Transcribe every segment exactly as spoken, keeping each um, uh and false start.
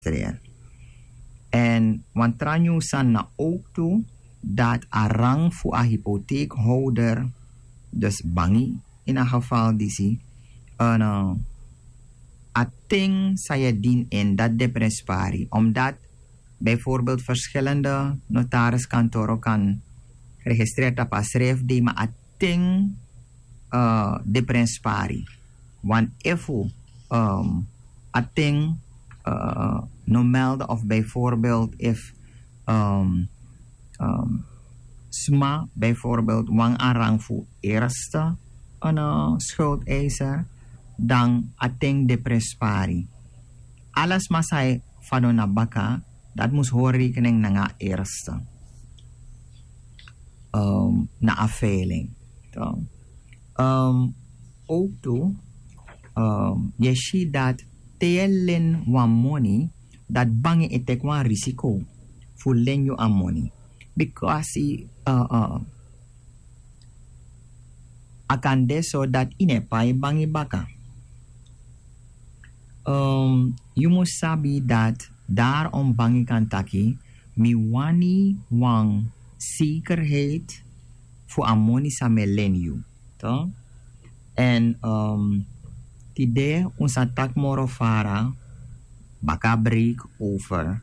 registreer. En wan tra nyun sani na ook tu dat a rang fu a hypotheekhouder, dus bangi in a geval disi, en uh, a ting san yu e dini in dat de prenspari, omdat bijvoorbeeld verschillende notariskantoro kan registreer tapu a schrijfdei, maar a ting uh, de prenspari. Want efu um, a ting uh, no melde of bijvoorbeeld if um, um, sma bijvoorbeeld wan a rang fu eerste een uh, schuldeiser, dan a ting de prenspari. Ala sma san e fadon na baka, dat mus hori rekening nanga eerste um, na a veiling. Um, ook tu um, yu e si dat te yu e leni wan moni, dat bangi e teki wan risiko fu leni yu a moni. Bikasi uh, uh, a kan de so dat yu no e pai bangi baka. Um, yu mus sabi dat daarom bangi kan taki mi wani wan zekerheid fu a moni san mi e leni yu. Toch? En um, tide un sa taki moro fara, baka break over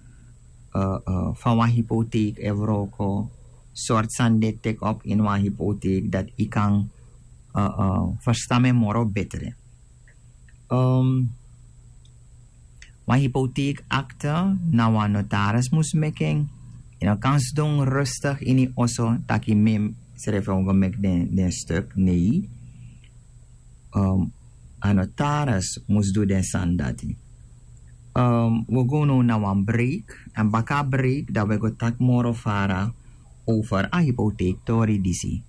uh, uh, fa wan hypotheek e wroko, sort san de take up in wan hypotheek, dat yu kan uh, uh, verstaan mi moro betere. Um, wan hypotheekakte na wan notaris mus meki en. Yu no kan sidon rustig ini yu oso taki mi srefi o go meki den, den stuk, nee. Um, a notaris mus du den sani dati. Um, wi o go now na wan break, en baka break dan wi e go taki moro fara over a hypotheektori disi.